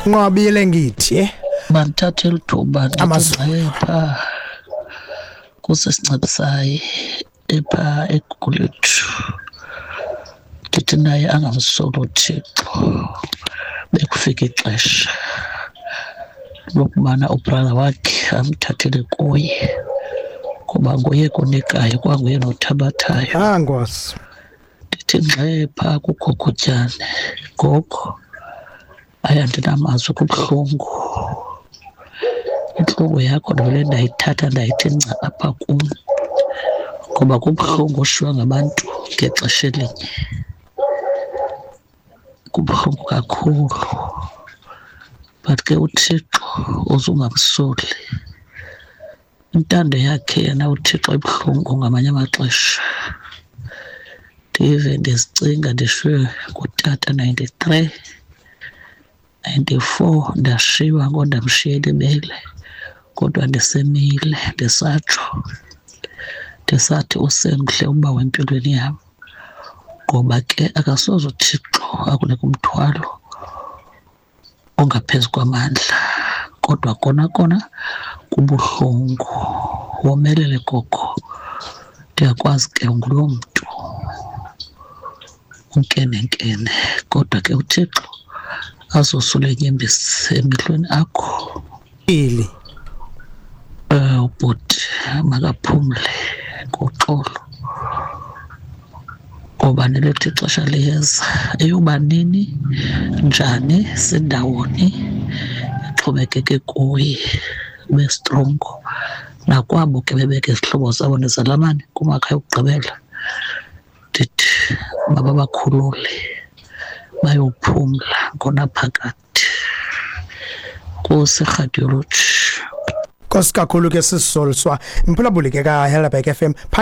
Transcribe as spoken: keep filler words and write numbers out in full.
Nqwabile ngithi Mandithathe eli thuba ndithi Amazulu. ngxe phaa kusisincedisayi ephaa eGugulethu. Ndithi naye angamsoli uThixo, bekufika ixesha lokubana ubrother wakhe amthathele kuye, kuba nguye konikayo kwanguye nothabathayo. Ah, Nkosi. Ndithi ngxe phaa kuGogotyane, gogo, hayi andinamazwi, kubuhlungu. Intlungu yakho ndivele ndayithatha ndayithi nca apha kum, ngoba kubuhlungu ushiywa ngabantu ngexesha elinye, kubuhlungu kakhulu. But ke uThixo uzungamsoli, intando yakhe yena uThixo ibuhlungu ngamanye amaxesha. Ndive ndizicinga ndishiywe ngutata ninety-three, ninety-four, ndashiywa ngondamshiyela ibele, kodwa ndisemile, ndisatsho ndisathi usemhle uba wempilweni yam, ngoba ke akasoze uThixo akunike umthwalo ongaphezu kwamandla. Kodwa kona kona kubuhlungu. Womelele gogo, ndiyakwazi ke unguloo mntu unkenenkene, kodwa ke uThixo azosula iinyembezi emehlweni akho. Ili. Eh, ubhuti makaphumle ngoxolo, ngoba nelethu ixesha liyeza. Eyoba nini, njani, sindawoni, ixhomekeke kuye. Ube strongo nakwabo ke bebeke izihlobo zabo nezalamane kumakhaya okugqibela, ndithi mababakhulule bayophumla ngonaphakade. Nkosi radiology. Nkosi kakhulu ke sisizoliswa mphulaphuli ke ka Helderberg F M.